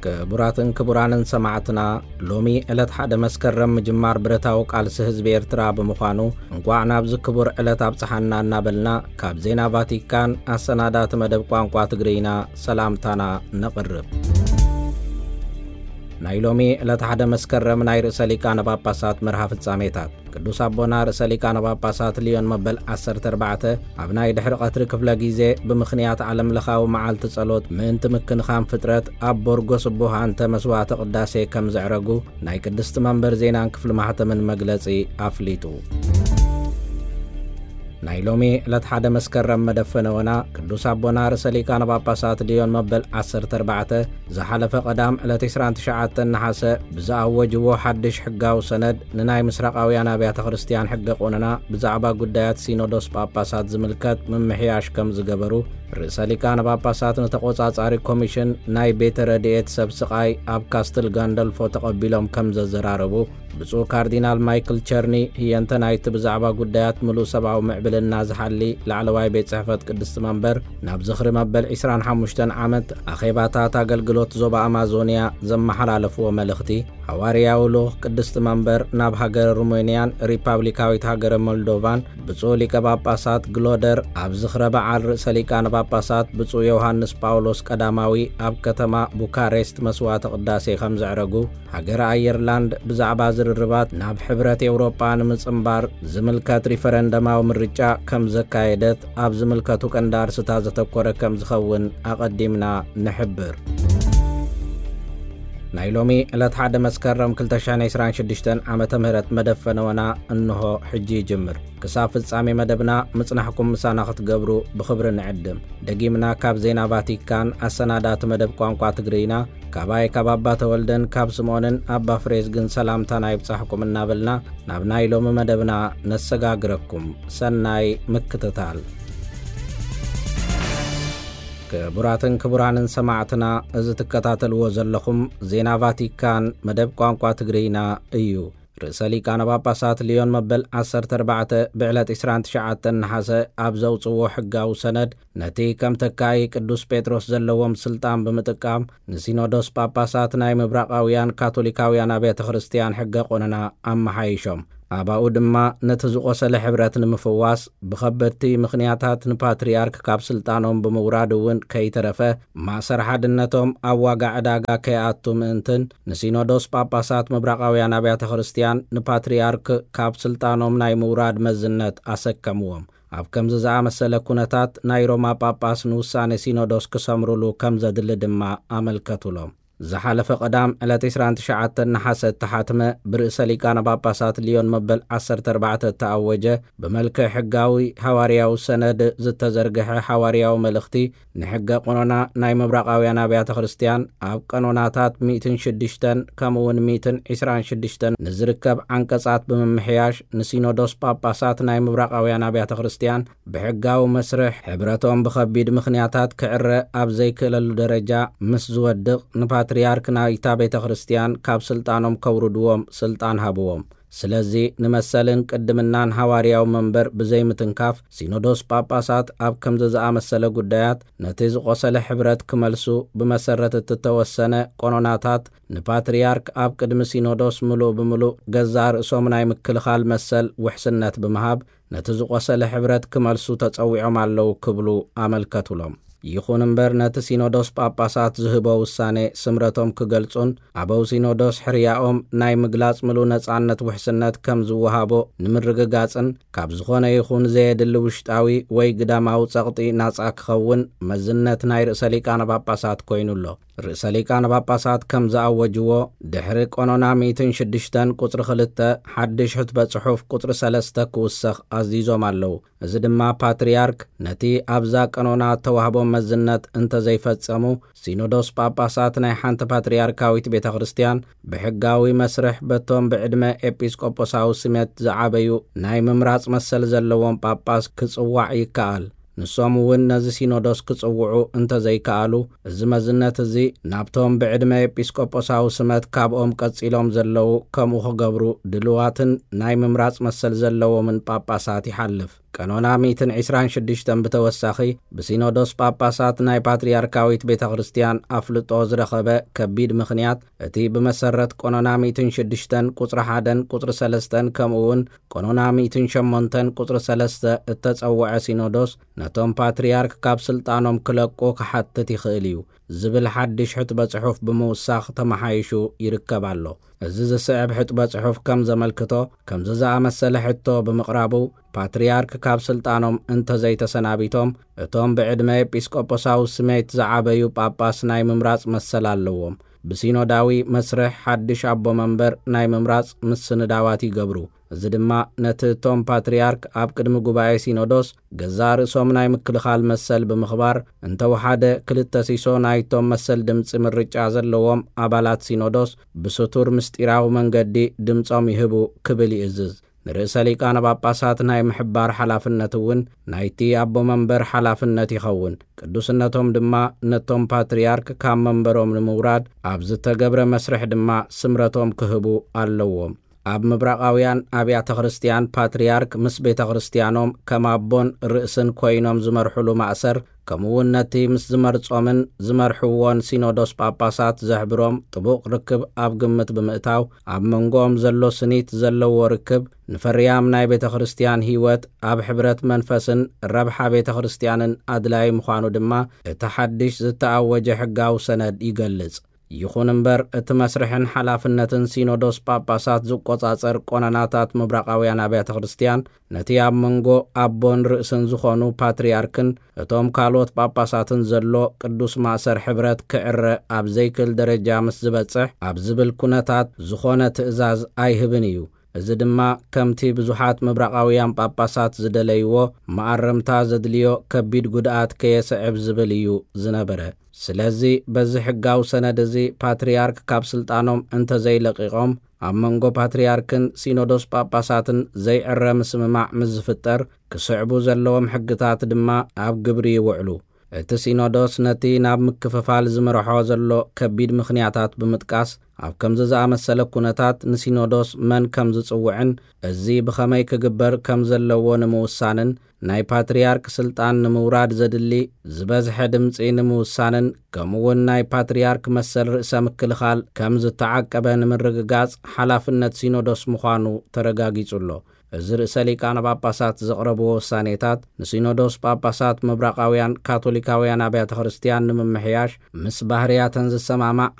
ክቡራትን ክቡራንን ሰማዕትና፣ ሎሚ ዕለት ሓደ መስከረም ምጅማር ብረታዊ ቃልሲ ህዝቢ ኤርትራ ብምዃኑ፣ እንቋዕ ናብዚ ክቡር ዕለት ኣብጽሓና እናበልና፣ ካብ ዜና ቫቲካን ኣሰናዳቲ መደብ ቋንቋ ትግርይና ሰላምታና ነቕርብ። ናይ ሎሚ ዕለት ሓደ መስከረም ናይ ርእሰ ሊቃነ ጳጳሳት መርሃ ፍጻሜታት። ቅዱስ ኣቦና ርእሰ ሊቃነ ጳጳሳት ሊዮን መበል ዓሰርተ ኣርባዕተ ኣብ ናይ ድሕሪ ቀትሪ ክፍለ ግዜ፣ ብምኽንያት ዓለም ለኻዊ መዓልቲ ጸሎት ምእንቲ ምክንኻን ፍጥረት፣ ኣብ ቦርጎ ስቡህ ኣንተ መስዋዕተ ቅዳሴ ከም ዘዕረጉ ናይ ቅድስቲ መንበር ዜናን ክፍሊ ማሕተምን መግለጺ ኣፍሊጡ። ናይ ሎሚ ዕለት ሓደ መስከረም መደብ ፈነወና፣ ቅዱስ ኣቦና ርእሰ ሊቃነ ጳጳሳት ሊዮን መበል ዓሰርተ ኣርባዕተ ዝሓለፈ ቀዳም ዕለት ዕስራን ትሽዓተን ነሓሰ ብዝኣወጅዎ ሓድሽ ሕጋዊ ሰነድ፣ ንናይ ምስራቃውያን ኣብያተ ክርስቲያን ሕገ ቆነና ብዛዕባ ጉዳያት ሲኖዶስ ጳጳሳት ዝምልከት ምምሕያሽ ከም ዝገበሩ፣ ርእሰ ሊቃነ ጳጳሳት ንተቖጻጻሪ ኮሚሽን ናይ ቤተ ረድኤት ሰብ ስቓይ ኣብ ካስትል ጋንደልፎ ተቐቢሎም ከም ዘዘራረቡ፣ ብፁዕ ካርዲናል ማይክል ቸርኒ፣ ህየንተ ናይቲ ብዛዕባ ጉዳያት ምሉእ ሰብኣዊ ምዕብልና ዝሓሊ ላዕለዋይ ቤት ጽሕፈት ቅድስቲ መንበር፣ ናብ ዝኽሪ መበል ዕስራን ሓሙሽተን ዓመት ኣኼባታት ኣገልግሎት ዞባ ኣማዞንያ ዘመሓላለፍዎ መልእኽቲ፣ ሃዋርያዊ ልኡኽ ቅድስቲ መንበር ናብ ሃገረ ሩሜንያን ሪፓብሊካዊት ሃገረ ሞልዶቫን ብፁዕ ሊቀ ጳጳሳት ግሎደር፣ ኣብ ዝኽረ በዓል ርእሰ ሊቃነ ጳጳሳት ብፁዕ ዮሃንስ ጳውሎስ ቀዳማዊ ኣብ ከተማ ቡካሬስት መስዋዕተ ቅዳሴ ከም ዘዕረጉ፣ ሃገረ ኣየርላንድ ብዛዕባ ዝርርባት ናብ ሕብረት ኤውሮጳ ንምጽንባር ዝምልከት ሪፈረንደማዊ ምርጫ ከም ዘካየደት ኣብ ዝምልከቱ ቀንዲ ኣርስታት ዘተኮረ ከም ዝኸውን ኣቐዲምና ንሕብር። ናይ ሎሚ ዕለት ሓደ መስከረም ክልተ ሽሕን ዕስራን ሽዱሽተን ዓመተ ምህረት መደብ ፈነወና እንሆ ሕጂ ይጅምር። ክሳብ ፍጻሜ መደብና ምጽናሕኩም ምሳና ክትገብሩ ብኽብሪ ንዕድም። ደጊምና ካብ ዜና ቫቲካን ኣሰናዳቲ መደብ ቋንቋ ትግርይና፣ ካባይ ካብ ኣባ ተወልደን ካብ ስምኦንን ኣባ ፍሬዝግን ሰላምታና ይብጻሕኩም እናበልና፣ ናብ ናይ ሎሚ መደብና ነሰጋግረኩም። ሰናይ ምክትታል። ክቡራትን ክቡራንን ሰማዕትና፣ እዚ ትከታተልዎ ዘለኹም ዜና ቫቲካን መደብ ቋንቋ ትግርይና እዩ። ርእሰ ሊቃነ ጳጳሳት ሊዮን መበል ዓሰርተ ኣርባዕተ ብዕለት ዕስራን ትሽዓተን ነሓሰ ኣብ ዘውጽዎ ሕጋዊ ሰነድ፣ ነቲ ከም ተካኢ ቅዱስ ጴጥሮስ ዘለዎም ስልጣን ብምጥቃም፣ ንሲኖዶስ ጳጳሳት ናይ ምብራቓውያን ካቶሊካውያን ኣብያተ ክርስቲያን ሕገ ቆነና ኣመሓይሾም። ኣባኡ ድማ ነቲ ዝቖሰለ ሕብረት ንምፍዋስ ብኸበድቲ ምኽንያታት ንፓትርያርክ ካብ ስልጣኖም ብምውራድ እውን ከይተረፈ፣ ማእሰር ሓድነቶም ኣብ ዋጋ ዕዳጋ ከይኣቱ ምእንትን፣ ንሲኖዶስ ጳጳሳት ምብራቓውያን ኣብያተ ክርስቲያን ንፓትርያርክ ካብ ስልጣኖም ናይ ምውራድ መዝነት ኣሰከምዎም። ኣብ ከምዚ ዝኣመሰለ ኩነታት ናይ ሮማ ጳጳስ ንውሳኔ ሲኖዶስ ክሰምሩሉ ከም ዘድሊ ድማ ኣመልከቱሎም። ዝሓለፈ ቀዳም ዕለት ዕስራን ትሽዓተን ነሓሰ እተሓትመ ብርእሰ ሊቃነ ጳጳሳት ሊዮን መበል ዓሰርተ ኣርባዕተ እተኣወጀ ብመልክዕ ሕጋዊ ሃዋርያዊ ሰነድ ዝተዘርግሐ ሃዋርያዊ መልእኽቲ ንሕገ ቆኖና ናይ ምብራቓውያን ኣብያተ ክርስቲያን ኣብ ቀኖናታት ሚእትን ሽዱሽተን ከምኡ እውን ሚእትን ዕስራን ሽዱሽተን ንዝርከብ ዓንቀጻት ብምምሕያሽ ንሲኖዶስ ጳጳሳት ናይ ምብራቓውያን ኣብያተ ክርስቲያን ብሕጋዊ መስርሕ ሕብረቶም ብኸቢድ ምኽንያታት ክዕረ ኣብ ዘይክእለሉ ደረጃ ምስ ዝወድቕ ንፓትርያርክ ናይታ ቤተ ክርስቲያን ካብ ስልጣኖም ከውርድዎም ስልጣን ሃብዎም። ስለዚ ንመሰልን ቅድምናን ሃዋርያዊ መንበር ብዘይምትንካፍ ሲኖዶስ ጳጳሳት ኣብ ከምዚ ዝኣመሰለ ጉዳያት ነቲ ዝቖሰለ ሕብረት ክመልሱ ብመሰረት እተወሰነ ቆኖናታት ንፓትርያርክ ኣብ ቅድሚ ሲኖዶስ ምሉእ ብምሉእ ገዛእ ርእሶም ናይ ምክልኻል መሰል ውሕስነት ብምሃብ ነቲ ዝቖሰለ ሕብረት ክመልሱ ተጸዊዖም ኣለዉ ክብሉ ኣመልከቱሎም። ይኹን እምበር ነቲ ሲኖዶስ ጳጳሳት ዝህቦ ውሳኔ ስምረቶም ክገልጹን ኣበው ሲኖዶስ ሕርያኦም ናይ ምግላጽ ምሉእ ነጻነት ውሕስነት ከም ዝወሃቦ ንምርግጋጽን ካብ ዝኾነ ይኹን ዘየድሊ ውሽጣዊ ወይ ግዳማዊ ጸቕጢ ናጻ ክኸውን መዝነት ናይ ርእሰ ሊቃነ ጳጳሳት ኮይኑ ኣሎ። ርእሰ ሊቃነ ጳጳሳት ከም ዝኣወጅዎ ድሕሪ ቆኖና ሚእትን ሽዱሽተን ቁጽሪ ክልተ ሓድሽ ሕትበ ጽሑፍ ቁጽሪ ሰለስተ ክውሰኽ ኣዚዞም ኣለዉ። እዚ ድማ ፓትርያርክ ነቲ ኣብዛ ቀኖና እተዋህቦም መዝነት እንተዘይፈጸሙ፣ ሲኖዶስ ጳጳሳት ናይ ሓንቲ ፓትርያርካዊት ቤተ ክርስቲያን ብሕጋዊ መስርሕ በቶም ብዕድመ ኤጲስቆጶሳዊ ስመት ዝዓበዩ ናይ ምምራጽ መሰል ዘለዎም ጳጳስ ክጽዋዕ ይከኣል። ንሶም እውን ነዚ ሲኖዶስ ክጽውዑ እንተዘይከኣሉ፣ እዚ መዝነት እዚ ናብቶም ብዕድመ ኤጲስቆጶሳዊ ስመት ካብኦም ቀጺሎም ዘለዉ ከምኡ ክገብሩ ድልዋትን ናይ ምምራጽ መሰል ዘለዎምን ጳጳሳት ይሓልፍ። ቀኖና ሚእትን ዕስራን ሽዱሽተን ብተወሳኺ ብሲኖዶስ ጳጳሳት ናይ ፓትርያርካዊት ቤተ ክርስቲያን ኣፍልጦ ዝረኸበ ከቢድ ምኽንያት፣ እቲ ብመሰረት ቀኖና ሚእትን ሽዱሽተን ቁጽሪ ሓደን ቁጽሪ ሰለስተን ከምኡ እውን ቀኖና ሚእትን ሸሞንተን ቁጽሪ ሰለስተ እተጸውዐ ሲኖዶስ ነቶም ፓትርያርክ ካብ ስልጣኖም ክለቁ ክሓትት ይኽእል እዩ ዝብል ሓድሽ ሕጥበ ጽሑፍ ብምውሳኽ ተመሓይሹ ይርከብ ኣሎ። እዚ ዝስዕብ ሕጥበ ጽሑፍ ከም ዘመልክቶ፣ ከምዚ ዝኣመሰለ ሕቶ ብምቕራቡ ፓትርያርክ ካብ ስልጣኖም እንተዘይተሰናቢቶም፣ እቶም ብዕድመ ኤጲስቆጶሳዊ ስሜት ዝዓበዩ ጳጳስ ናይ ምምራጽ መሰል ኣለዎም። ብሲኖዳዊ መስርሕ ሓድሽ ኣቦ መንበር ናይ ምምራጽ ምስንዳዋት ይገብሩ። እዚ ድማ ነቲ እቶም ፓትርያርክ ኣብ ቅድሚ ጉባኤ ሲኖዶስ ገዛእ ርእሶም ናይ ምክልኻል መሰል ብምኽባር፣ እንተወሓደ ክልተ ሲሶ ናይቶም መሰል ድምጺ ምርጫ ዘለዎም ኣባላት ሲኖዶስ ብስቱር ምስጢራዊ መንገዲ ድምጾም ይህቡ ክብል ይእዝዝ። ንርእሰ ሊቃነ ጳጳሳት ናይ ምሕባር ሓላፍነት እውን ናይቲ ኣቦ መንበር ሓላፍነት ይኸውን። ቅዱስነቶም ድማ ነቶም ፓትርያርክ ካብ መንበሮም ንምውራድ ኣብ ዝተገብረ መስርሕ ድማ ስምረቶም ክህቡ ኣለዎም። ኣብ ምብራቓውያን ኣብያተ ክርስቲያን ፓትርያርክ ምስ ቤተ ክርስቲያኖም ከም ኣቦን ርእስን ኮይኖም ዝመርሑሉ ማእሰር፣ ከምኡ እውን ነቲ ምስ ዝመርጾምን ዝመርሕዎን ሲኖዶስ ጳጳሳት ዘሕብሮም ጥቡቕ ርክብ ኣብ ግምት ብምእታው፣ ኣብ መንጎኦም ዘሎ ስኒት ዘለዎ ርክብ ንፈርያም ናይ ቤተ ክርስቲያን ህይወት፣ ኣብ ሕብረት መንፈስን ረብሓ ቤተ ክርስቲያንን ኣድላዪ ምዃኑ ድማ እቲ ሓድሽ ዝተኣወጀ ሕጋዊ ሰነድ ይገልጽ። ይኹን እምበር፣ እቲ መስርሕን ሓላፍነትን ሲኖዶስ ጳጳሳት ዝቆጻጸር ቆነናታት ምብራቓውያን ኣብያተ ክርስቲያን፣ ነቲ ኣብ መንጎ ኣቦን ርእስን ዝኾኑ ፓትርያርክን እቶም ካልኦት ጳጳሳትን ዘሎ ቅዱስ ማእሰር ሕብረት ክዕረ ኣብ ዘይክእል ደረጃ ምስ ዝበጽሕ፣ ኣብ ዝብል ኩነታት ዝኾነ ትእዛዝ ኣይህብን እዩ። እዚ ድማ ከምቲ ብዙሓት ምብራቓውያን ጳጳሳት ዝደለይዎ፣ መኣረምታ ዘድልዮ ከቢድ ጉድኣት ከየስዕብ ዝብል እዩ ዝነበረ። ስለዚ በዚ ሕጋዊ ሰነድ እዚ ፓትርያርክ ካብ ስልጣኖም እንተዘይለቒቖም፣ ኣብ መንጎ ፓትርያርክን ሲኖዶስ ጳጳሳትን ዘይዕረ ምስምማዕ ምስ ዝፍጠር፣ ክስዕቡ ዘለዎም ሕግታት ድማ ኣብ ግብሪ ይውዕሉ። እቲ ሲኖዶስ ነቲ ናብ ምክፍፋል ዝመርሖ ዘሎ ከቢድ ምኽንያታት ብምጥቃስ፣ ኣብ ከምዚ ዝኣመሰለ ኩነታት ንሲኖዶስ መን ከም ዝጽውዕን እዚ ብኸመይ ክግበር ከም ዘለዎ ንምውሳንን፣ ናይ ፓትርያርክ ስልጣን ንምውራድ ዘድሊ ዝበዝሐ ድምጺ ንምውሳንን፣ ከምኡውን ናይ ፓትርያርክ መሰል ርእሰ ምክልኻል ከም ዝተዓቀበ ንምርግጋጽ ሓላፍነት ሲኖዶስ ምዃኑ ተረጋጊጹ ኣሎ። እዚ ርእሰ ሊቃነ ጳጳሳት ዘቕረብዎ ውሳኔታት፣ ንሲኖዶስ ጳጳሳት ምብራቓውያን ካቶሊካውያን ኣብያተ ክርስቲያን ንምምሕያሽ፣ ምስ ባህርያተን ዝሰማማዕ